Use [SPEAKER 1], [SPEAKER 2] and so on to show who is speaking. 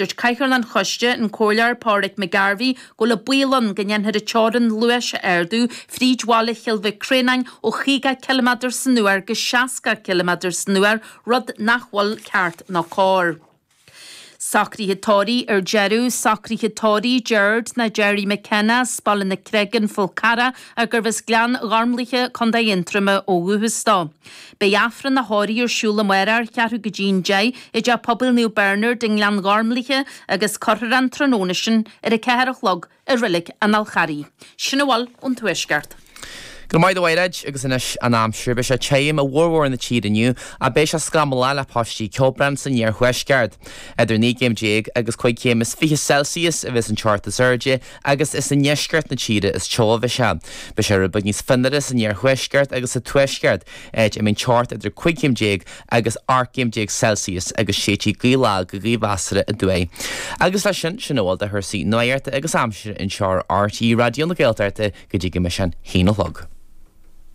[SPEAKER 1] Dúirt Cathaoirleach an Choiste, an Comhairleoir Pádraig McGarvey, go bhfuil an baol ann go ndéanfar an teorainn luais a ardú fríd bhaile Chill Mhic Réanáin ó 50 ciliméadar san uair go 60 ciliméadar san uair, rud nach bhfuil ceart ná cóir. Socruithe tórraimh ar deireadh, Socruithe tórraimh Gerard nó Gerry McKenna as Baile na Creige, An Fál Carrach, gurbh as Gleann Ghormlaithe, Co. Aontroma ó dhúchas dó. Beidh Aifreann a thórraimh ar siúl amárach ar cheathrú go dtí an 10 i dTeach Pobail Naomh Bernard i nGleann Ghormlaithe agus cuirfear é an tráthnóna sin ar a 4 a chlog i Reilig an Fháil Charraigh. Sin a bhfuil ón Tuaisceart.
[SPEAKER 2] Go raibh maith agat a Mhairéad agus anois an aimsir. Beidh sé tirim i bhformhór na tíre inniu ach beidh sé scamallach le paistí ceobhrán san iarthuaisceart. Idir 19 gcéim agus 25 chéim Celsius a bheas an teocht is airde agus is i ndeisceart na tíre is teo a bheidh sé. Beidh sé rud beag níos fionnuaire san iarthuaisceart agus sa tuaisceart, áit a mbeidh an teocht idir 15 chéim agus 18 gcéim Celsius agus séidfidh gaoth lag go gaoth mheasartha aduaidh. Agus leis sin, sin a bhfuil de chúrsaí nuachta agus aimsire anseo ar RTÉ Raidió na Gaeltachta go dtí go mbeidh sé an haon a chlog.